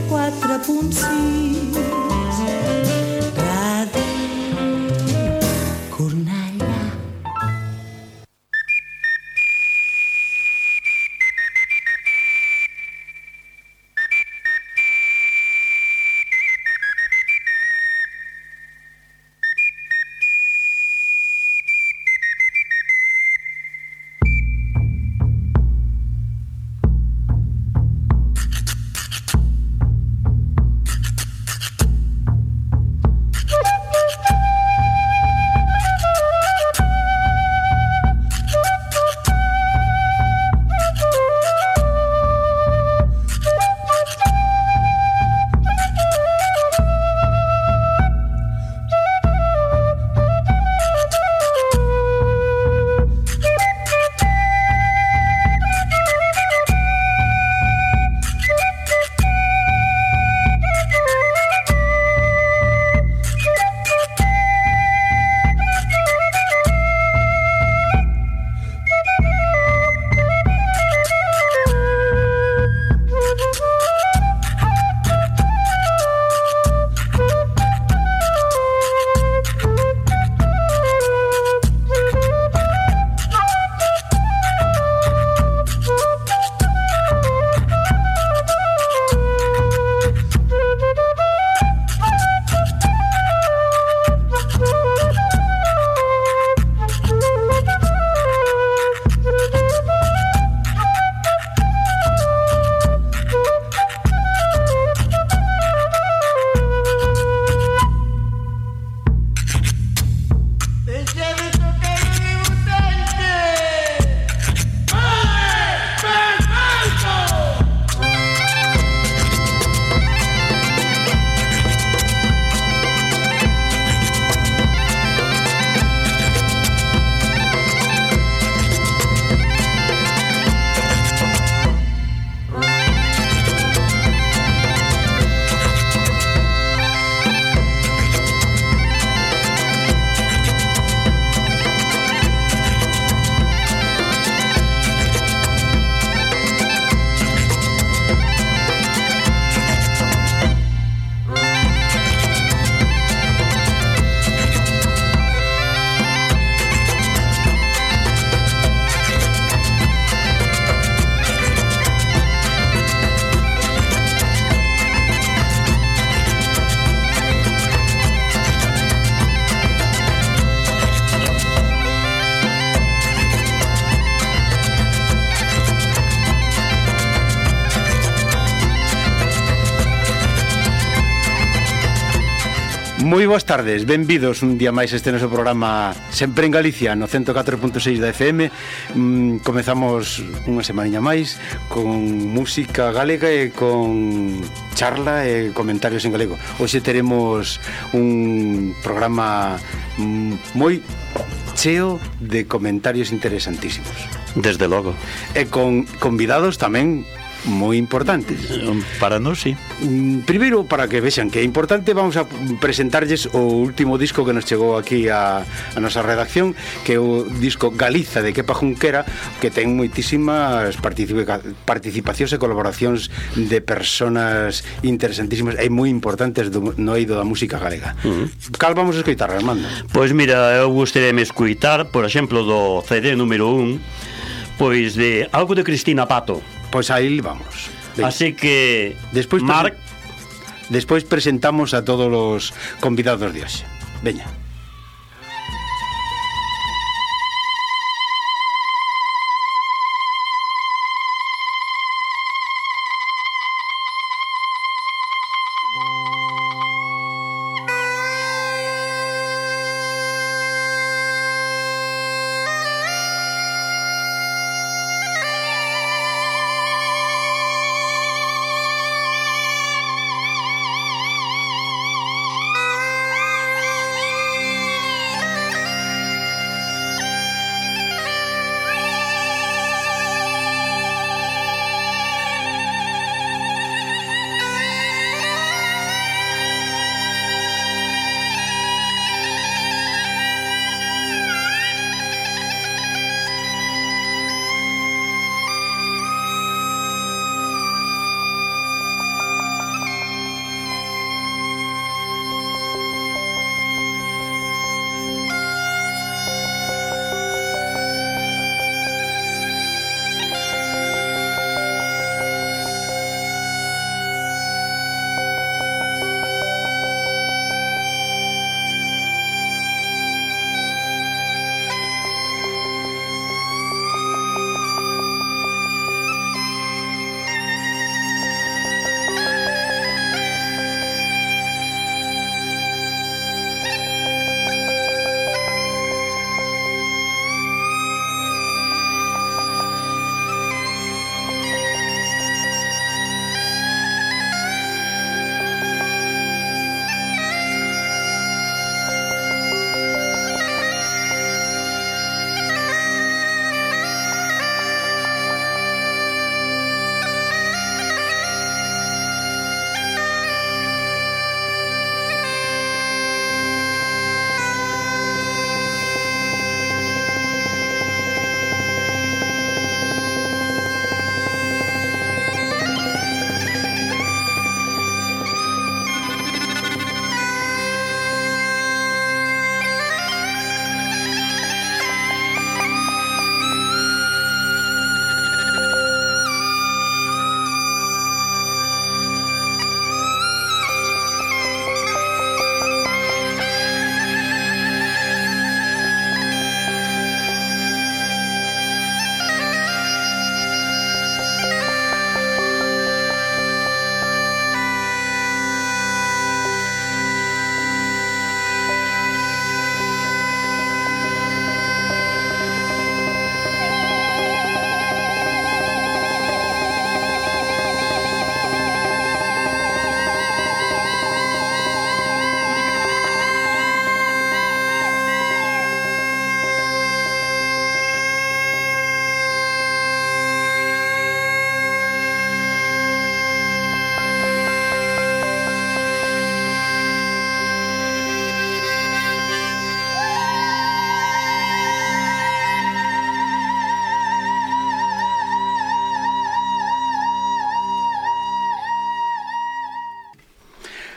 4.6 Ràdio Cornellà. Moi boas tardes, benvidos un día máis este noso programa Sempre en Galicia no 104.6 da FM. Comezamos unha semaniña máis con música galega e con charla e comentarios en galego. Hoxe teremos un programa moi cheo de comentarios interesantísimos. Desde logo. E con convidados tamén moi importantes. Para nós, sí. Primeiro, para que vexan que é importante, vamos a presentarlles o último disco que nos chegou aquí a nosa redacción, que é o disco Galiza de Kepa Junquera, que ten moitísimas participacións e colaboracións de persoas interesantísimas e moi importantes no eido da música galega. Cal vamos a escoitar, Armando? Pois mira, eu gostaríame escoitar, por exemplo, do CD número 1, pois de algo de Cristina Pato. Pois aí vamos. Venga. Así que despois presentamos a todos os convidados de hoxe. Veña.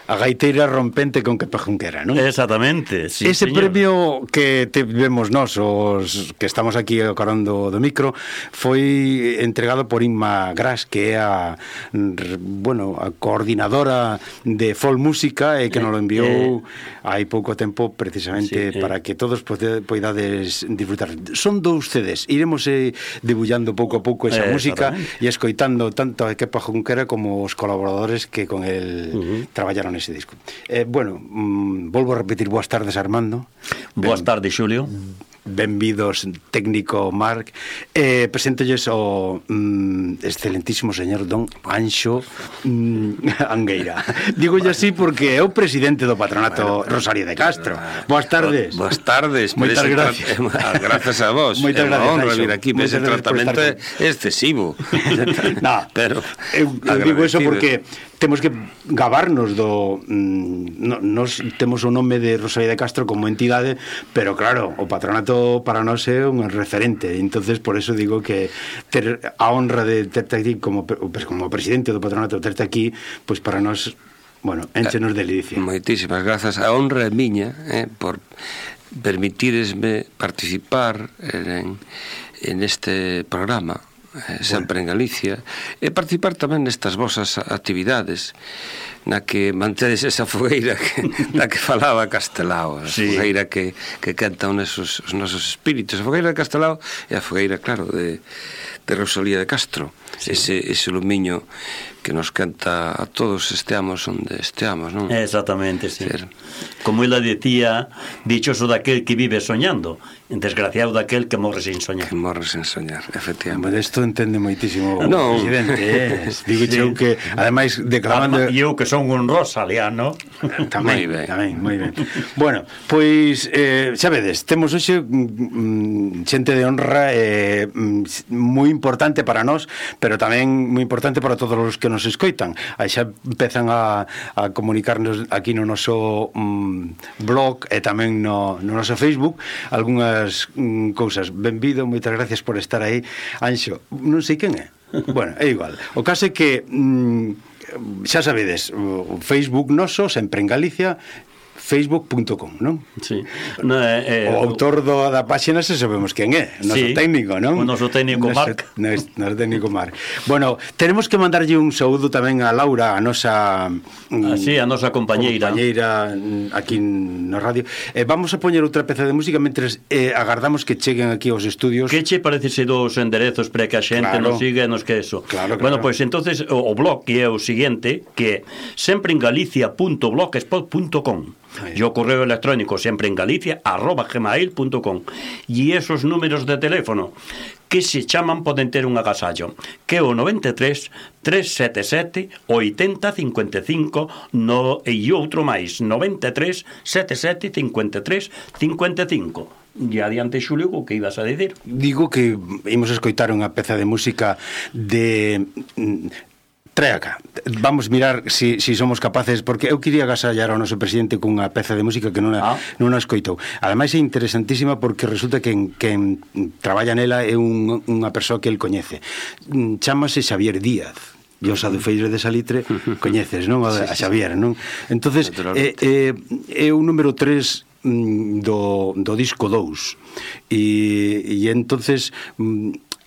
a gaiteira rompente con Kepa Junquera, non? Exactamente, sí, ese señor. premio que vemos nós, os que estamos aquí ao carón do micro, foi entregado por Inma Gras, que é a coordinadora de Folk Música e que nos lo enviou hai pouco tempo precisamente para que todos poidades disfrutar. Son 2 CDs, iremos debullando pouco a pouco esa música e escoitando tanto a Kepa Junquera como os colaboradores que con el traballaron ese disco. Volvo a repetir, boas tardes, Armando. Boas tardes, Xulio. Benvidos, técnico Marc. Presentolles o excelentísimo señor Don Anxo Angueira. Digolle así porque é o presidente do patronato Rosario de Castro. Boas tardes. Boas tardes. Moitas gracias. Gracias a vos. Moitas gracias, honra Anxo. vir aquí, mas ese tratamento é excesivo. No, pero eu digo eso porque temos que gabarnos do nos temos o nome de Rosario de Castro como entidade, pero claro, o patronato para nós é un referente, entonces por eso digo que ter a honra de terte aquí como presidente do patronato, terte aquí, pois para nós, énchenos de delicia. Moitísimas grazas. A honra é miña por permitiresme participar en este programa sempre en Galicia, e participar tamén nestas vosas actividades na que mantedes esa fogueira da que falaba Castelao, a fogueira que canta os nosos espíritus. A fogueira de Castelao é a fogueira, claro, de Rosalía de Castro, ese lumiño que nos canta a todos esteamos onde esteamos, non? Exactamente, sí. Como ela decía, dichoso daquel que vive soñando, desgraciado daquel que morre sin soñar. Que morre sin soñar, efectivamente. Isto entende moitísimo o presidente, digo eu que, ademais, declamando... E eu que son un rosaliano. Tamén, moi ben. Bueno, pois, xa vedes, temos hoxe xente de honra moi importante para nós, pero tamén moi importante para todos os que nos escoitan. Aí xa empezan a comunicarnos aquí no noso blog e tamén no noso Facebook algunhas cousas. Benvido, moitas gracias por estar aí. Anxo, non sei quen é. Bueno, é igual. O caso é que xa sabedes, o Facebook noso, sempre en Galicia, facebook.com, non? Sí. O autor da páxina se sabemos quen é, o noso técnico, non? O noso técnico Marc. Noso técnico Marc. Bueno, tenemos que mandarlle un saúdo tamén a Laura, a nosa a nosa compañeira aquí no radio. Vamos a poñer outra peza de música mentres agardamos que cheguen aquí aos estudios. Que che parecese dos enderezos para que a xente nos siga e nos que eso? Claro. Bueno, pois entonces o blog que é o seguinte, que é sempreengalicia.blogspot.com. E o correo electrónico sempreengalicia@gmail.com. E esos números de teléfono que se chaman poden ter un agasallo, que é o 93 377 80 55 e outro máis 93 77 53 55. E adiante, Xulio, o que ibas a dicir? Digo que imos escoitar unha peza de música de... Trae acá, vamos mirar si somos capaces, porque eu quería agasallar ao noso presidente cunha peza de música que non a escoitou. Ademais é interesantísima porque resulta que quen traballa nela é unha persoa que el coñece. Chámase Xavier Díaz. E os adufeiros de Salitre coñeces, non? A Xavier, non? Entonces, é o número 3 do disco 2. E entonces...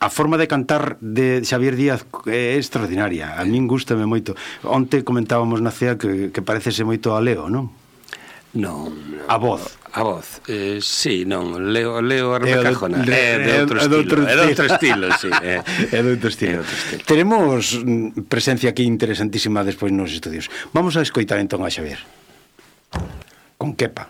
A forma de cantar de Xavier Díaz é extraordinaria. A min gústame moito. Onte comentábamos na CEA que parecese moito a Leo, non? Non. A voz. Sí, non. Leo a Rebecajona. É de outro estilo, sí. É de outro estilo. Tenemos presencia aquí interesantísima despois nos estudios. Vamos a escoitar entón a Xavier. Con Kepa.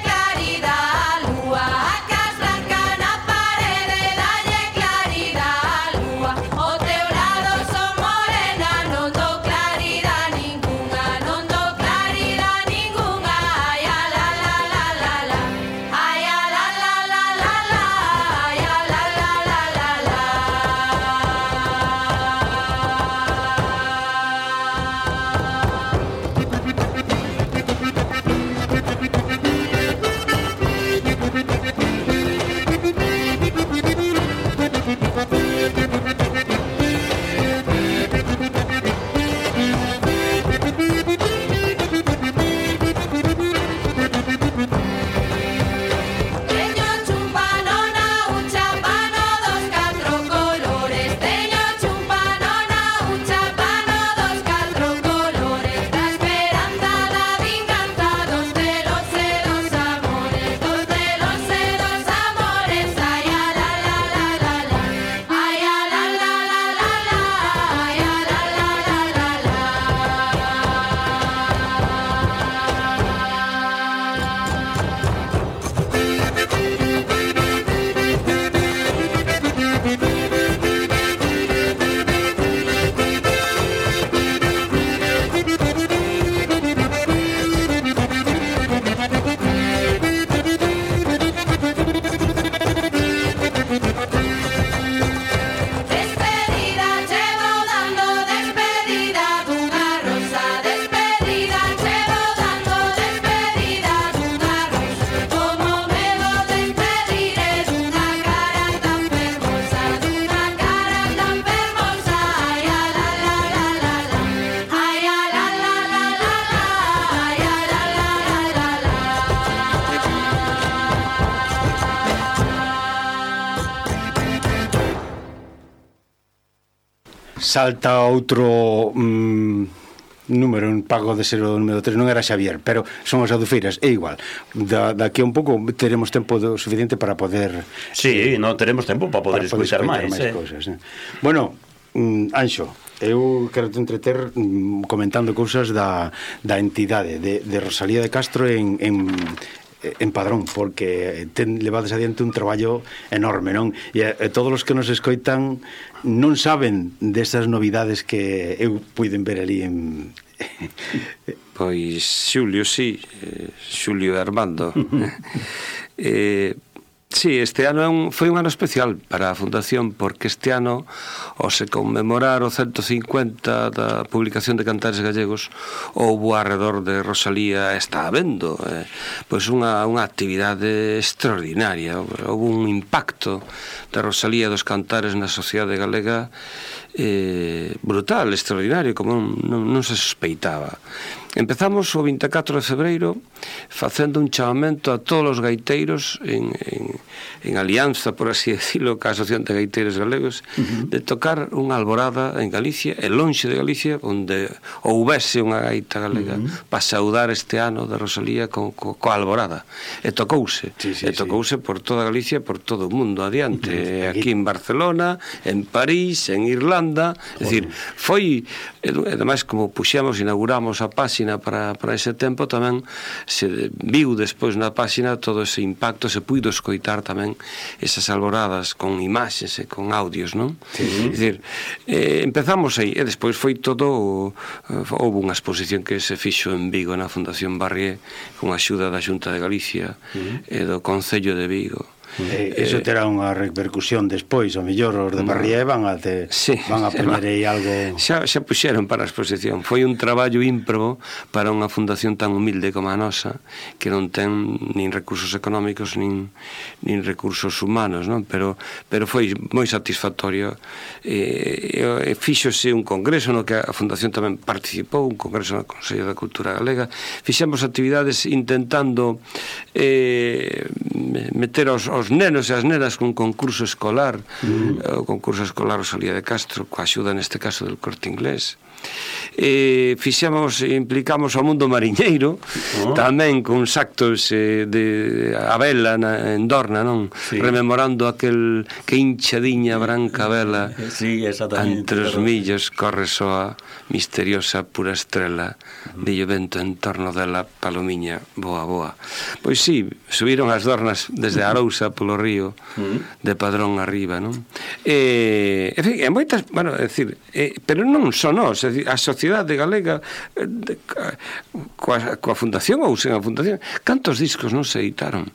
Claridad, lúa, a cas blanca na parede, dalle claridad. salta outro número, en pago de ser o número 3, non era Xavier, pero son as adufeiras, é igual. Daqui a un pouco teremos tempo suficiente para poder... Sí, non teremos tempo para poder escoitar máis cousas. Bueno, Anxo, eu quero te entreter comentando cousas da entidade de Rosalía de Castro en Padrón, porque levades adiante un traballo enorme, non? E todos os que nos escoitan non saben desas novidades que eu puiden ver ali en... Pois Xulio, sí, Xulio e Armando. Sí, este ano foi un ano especial para a Fundación, porque este ano, ao se conmemorar o 150 da publicación de Cantares Gallegos, houbo alrededor de Rosalía, está habendo pois unha actividade extraordinaria. Houbo un impacto da Rosalía dos Cantares na sociedade galega brutal, extraordinario, como non se sospeitaba. Empezamos o 24 de febreiro facendo un chamamento a todos os gaiteiros en alianza, por así decirlo, ca Asociación de Gaiteiros Galegos, de tocar unha alborada en Galicia, e lonxe de Galicia, onde houvese unha gaita galega para saudar este ano de Rosalía coa alborada. E tocouse, tocouse por toda Galicia, por todo o mundo adiante, aquí en Barcelona, en París, en Irlanda, é dicir, foi, ademais, como puxemos, inauguramos a páxina para ese tempo, tamén se viu despois na páxina todo ese impacto, se puido escoitar tamén esas alboradas con imaxes e con audios, non? É dicir, empezamos aí, e despois foi todo, houve unha exposición que se fixo en Vigo na Fundación Barrié con a axuda da Xunta de Galicia e do Concello de Vigo. Eso terá unha repercusión despois, ao mellor os de Barrié van a poñer aí algo... Xa puxeron para a exposición. Foi un traballo ímprobo para unha fundación tan humilde como a nosa, que non ten nin recursos económicos nin recursos humanos, non? Pero foi moi satisfactorio. Fíxose un congreso no que a fundación tamén participou, un congreso no Consello da Cultura Galega. Fixemos actividades intentando meter aos nenos e as nenas con concurso escolar, o concurso escolar Rosalía de Castro, coa axuda neste caso del Corte Inglés. Implicamos ao mundo mariñeiro tamén con actos de a vela en Dorna, non? Rememorando aquel que hinchadiña branca vela entre os millos corre soa misteriosa pura estrela bello vento en torno dela palomiña boa boa. Pois sí, subiron as Dornas desde Arousa polo río de Padrón arriba, non? En fin, moitas, bueno, é dicir, pero non son nós, a sociedade galega coa fundación ou sen a fundación, cantos discos non se editaron,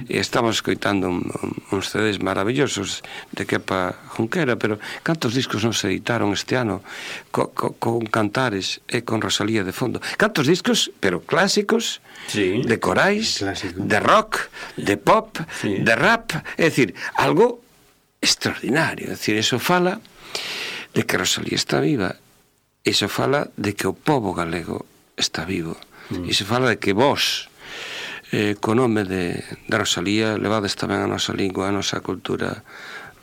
e estamos escoitando uns CDs maravillosos de Kepa Junquera, pero cantos discos non se editaron este ano con Cantares e con Rosalía de fondo, cantos discos, pero clásicos, de corais, de rock, de pop, de rap, é dicir, algo extraordinario. É dicir, eso fala de que Rosalía está viva, iso fala de que o pobo galego está vivo, iso fala de que vos, co nome de Rosalía, levades tamén a nosa lingua, a nosa cultura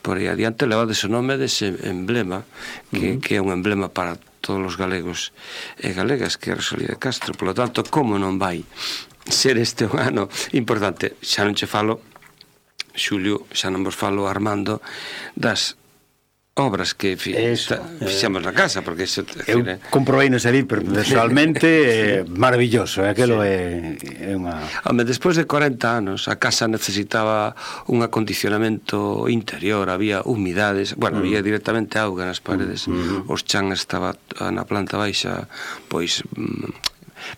por aí adiante, levades o nome dese emblema que é un emblema para todos os galegos e galegas, que é Rosalía de Castro. Por lo tanto, como non vai ser este un ano importante? Xa non che falo, Xulio, xa non vos falo, Armando, das obras que fixemos na casa, porque iso, eu comprobei no ali personalmente, maravilloso, aquilo é unha... Home, despois de 40 anos a casa necesitaba un acondicionamento interior, había humidades, bueno, había directamente auga nas paredes, os chan estaba na planta baixa, pois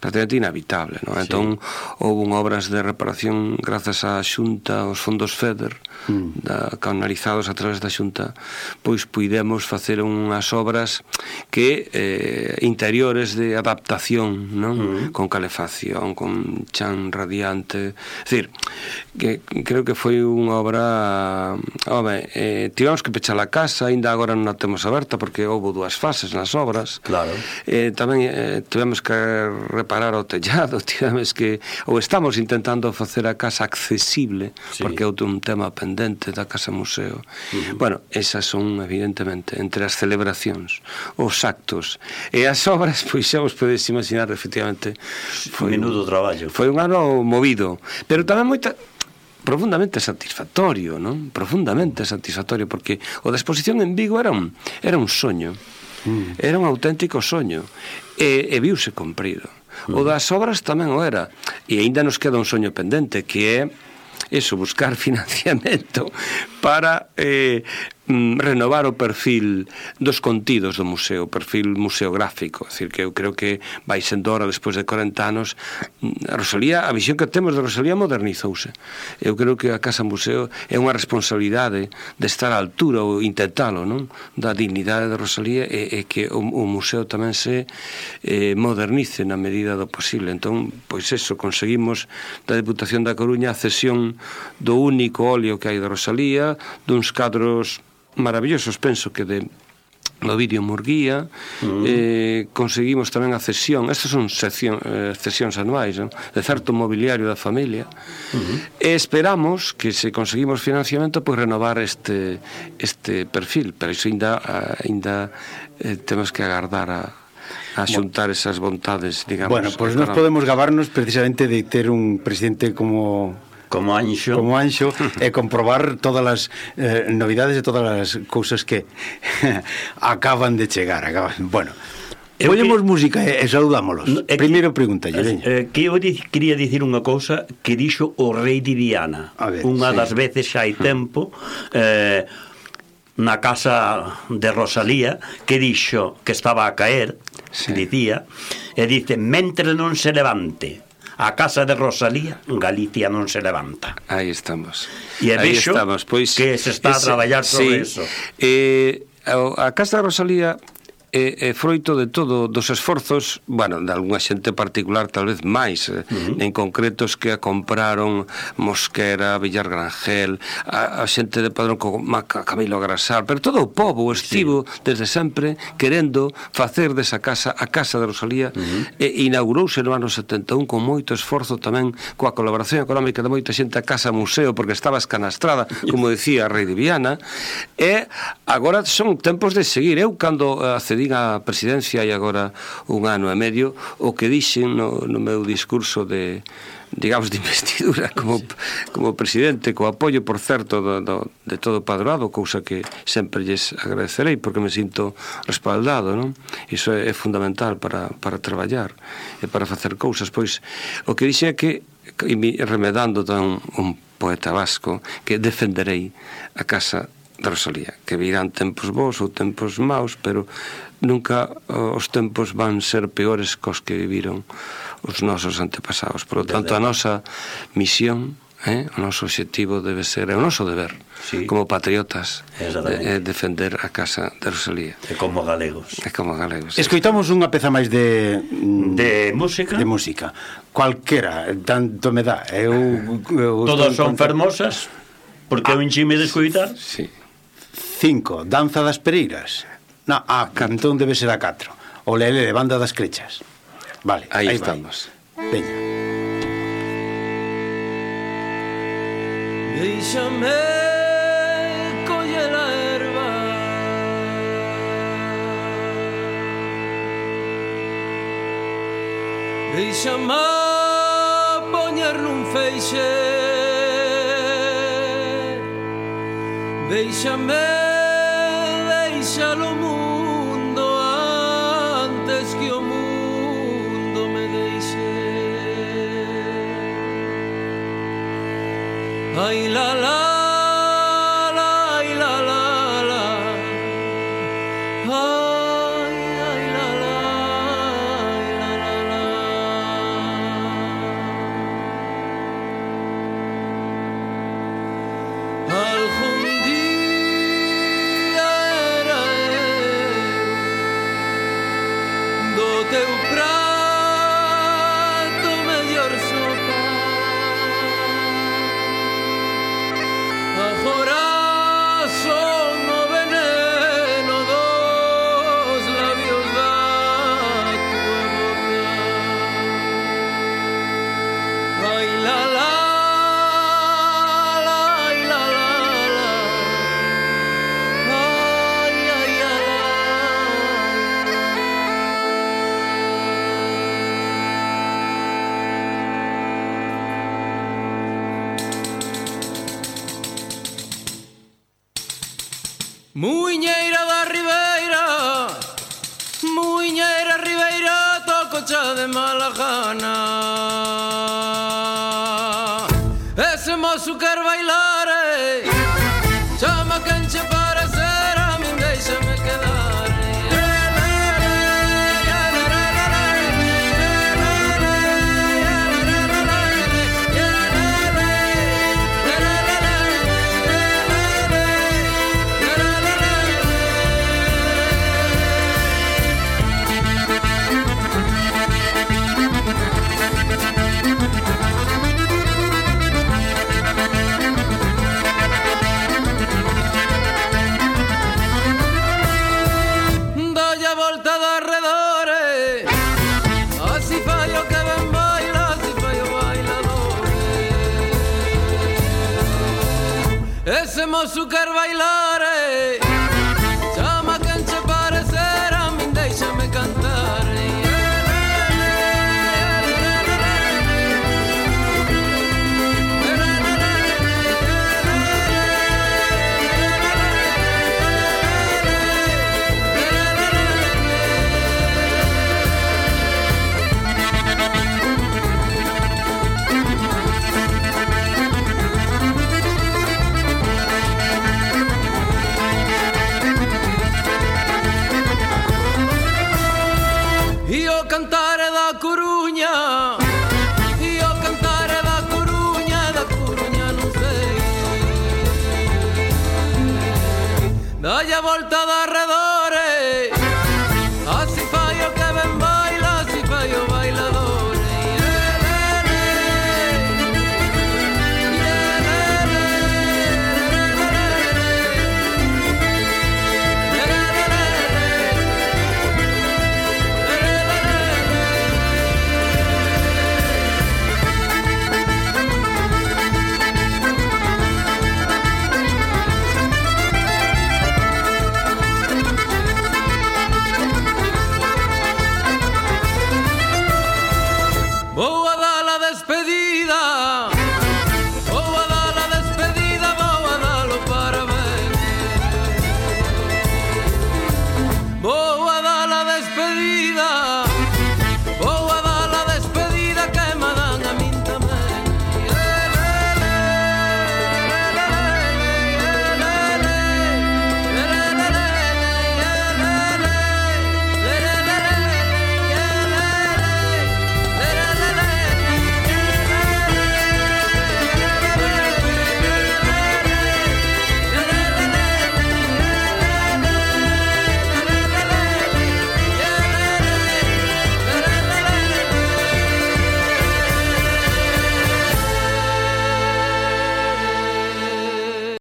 prácticamente inhabitable, non? Entón houve obras de reparación grazas á Xunta, aos fondos FEDER, canalizados a través da Xunta, pois puidemos facer unhas obras que interiores de adaptación, non? Con calefacción, con chan radiante, é dicir, que creo que foi unha obra, tivemos que pechar a casa, ainda agora non a temos aberta porque houve 2 fases nas obras, claro. Tamén tivemos que reparar o tellado, tivemos que, ou estamos intentando facer a casa accesible, porque é un tema pendente da Casa Museo. Bueno, esas son, evidentemente, entre as celebracións, os actos e as obras, pois xa vos podedes imaginar, efectivamente, foi menudo traballo. Foi un ano movido, pero tamén profundamente satisfactorio, non? Profundamente satisfactorio, porque o da exposición en Vigo era un soño. Era un auténtico soño e viuse cumprido. O das obras tamén o era, e aínda nos queda un soño pendente, que é eso, buscar financiamento para renovar o perfil dos contidos do museo, o perfil museográfico. É dicir, que eu creo que vai sendo hora, despois de 40 anos, a Rosalía, a visión que temos de Rosalía modernizouse. Eu creo que a Casa Museo é unha responsabilidade de estar á altura ou intentalo, non? Da dignidade de Rosalía e que o museo tamén se modernice na medida do posible. Entón, pois eso, conseguimos da Deputación da Coruña a cesión do único óleo que hai de Rosalía, duns cadros maravillosos, penso que do Ovidio Murguía. Conseguimos tamén a cesión, estas son cesións anuais, non? De certo mobiliario da familia, e esperamos que, se conseguimos financiamento, pois renovar este perfil, pero iso ainda temos que agardar a xuntar esas vontades, digamos. Bueno, pois nos podemos gabarnos precisamente de ter un presidente como Anxo e comprobar todas as novidades e todas as cousas que acaban de chegar. Bueno, poñemos música e saludámolos. Primeiro pregunta, que eu quería dicir unha cousa que dixo o rei de Viana unha das veces xa hai tempo, na casa de Rosalía, que dixo que estaba a caer, dicía, e dice: mentre non se levante a casa de Rosalía, Galicia non se levanta. Aí estamos. E vexo que se está a traballar sobre eso. A casa de Rosalía é froito de todo, dos esforzos, bueno, de algunha xente particular, tal vez máis, en concretos que a compraron Mosquera, Villar Grangel, a xente de Padrón como Camilo Grasal, pero todo o pobo estivo desde sempre querendo facer desa casa a Casa de Rosalía, e inaugurouse no ano 71 con moito esforzo tamén, coa colaboración económica de moita xente, a Casa Museo, porque estaba escanastrada, como decía a Rei de Viana, e agora son tempos de seguir. Eu, cando accedí a presidencia e agora un ano e medio, o que dixen no meu discurso de, digamos, de investidura como presidente, co apoio, por certo, de todo o padroado, cousa que sempre lles agradecerei, porque me sinto respaldado, non? Iso é fundamental para traballar e para facer cousas. Pois o que dixen é que, remedando un poeta vasco, que defenderei a Casa de Rosalía, que virán tempos bons ou tempos maus, pero nunca os tempos van ser peores cos que viviron os nosos antepasados. Por lo tanto, a nosa misión, o noso objetivo debe ser, é o noso deber, como patriotas, defender a Casa de Rosalía. E como galegos. Escoitamos unha peza máis de música. De música. Cualquera, tanto me dá. Todas son fermosas, porque eu enchime de escoitar. 5, Danza das Pereiras. Entón debe ser a 4. O Lele de Banda das Crechas. Vale, aí estamos. Veña. Déixame coller a erva, déixame poñer nun feixe, deixalo mundo antes que o mundo me deixe. Ai la la la, ai la la la, ai la la, ai la la la. Algún día era do teu prato mellor sopa, Muiñeira da Ribeira, Muiñeira Ribeira, tococha de mala gana. Ese mozo quer bailar, chama quen che parecer, a min deixame quedar. Ese mozo quer bailar, chama quen che parecer, a min deixame cantar. Cantare da Coruña, io cantare da Coruña non sei. Dai a volta